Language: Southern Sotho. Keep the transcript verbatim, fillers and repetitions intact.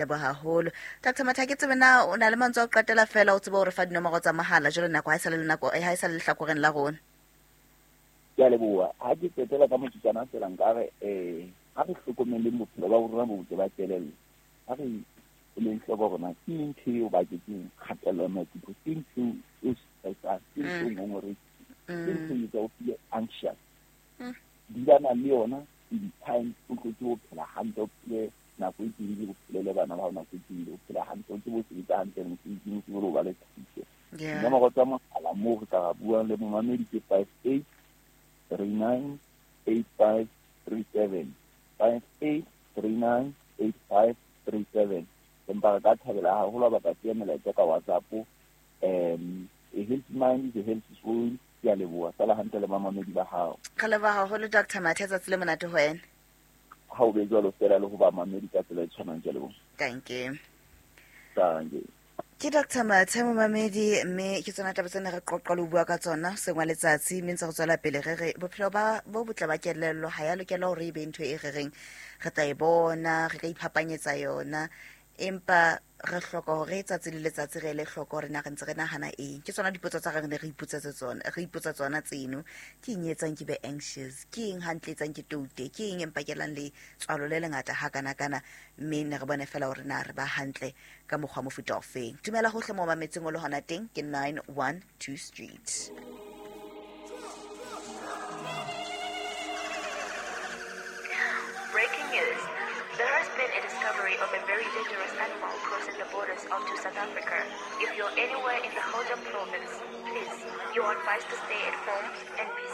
Leboha haholo Doctor Mathe. Ke tsebe na o na le mantswe a ho qetela fela, o tsebe hore fa dinomoro tsa mohala jwale nako ha e sa le nako ha e sa le lehlakoreng la rona. Ke a leboha. Ha ke qetela ka motsotswana fela, nkare um ha re hlokomeleng bophelo ba rona bo botle ba kelello. Ha re eleng hloko rona ke ntho eo baketseng kgatello ya maikutlo, ke ntho eo stressang, ke ntho eo ngongorehileng, ke ntho e etsang o feel anxious. Dulana le yona in time, o tlo tsebe ho phela hantle, o phele nako e telele, o phele le bana ba hao nako e telele, o phele hantle, o tsebe ho sebetsa hantle mosebetsing, o tsebe le ho ba le thuso. Dinomoro tsa mohala moo re ka ra buang le momamedi ke five eight three nine eight five three seven, five eight three nine eight five three seven. Empa re ka thabela haholo ha ba ka siya melaetsa ka WhatsApp. Um a healthy mind is a healthy soul. Ke a leboha. Sala hantle le bamamedi ba hao. Re leboha haholo Doctor Mathe, tsatsi le monate ho wena. Ha o be jwalo fela le ho bamamedi ka tsela e tshwanang. Ke a leboha. Thank you. Thank you. Ke Doctor Mathe momamedi, mme ke tsona taba tsena re qoqa le ho bua ka tsona sengwa letsatsi, mme ntse re tswela pele re re bophelo ba bo botle ba kelello ha ya lokela hore e be ntho e re reng re tla e bona, re ka iphapanyetsa yona, empa re hloka hore tsatsi le letsatsi re ele hloko hore na re ntse re nahana eng. Ke tsona dipotso tsa re ne re ipotsetse tsona, re ipotsa tsona tseno. Ke eng e etsang ke be anxious? Ke eng hantle etsang ke toute? Ke eng e mpakelang le tswalo le lengata hakanakana? Mme ne re bone fela hore na re ba hantle ka mokgwa mofuta ofeng. Dumela hohle mo mametseng o le hona teng, ke nine one two Street. Breaking news. There has been a discovery of a very dangerous animal crossing the borders onto South Africa. If you're anywhere in the Gauteng province, please, you are advised to stay at home and be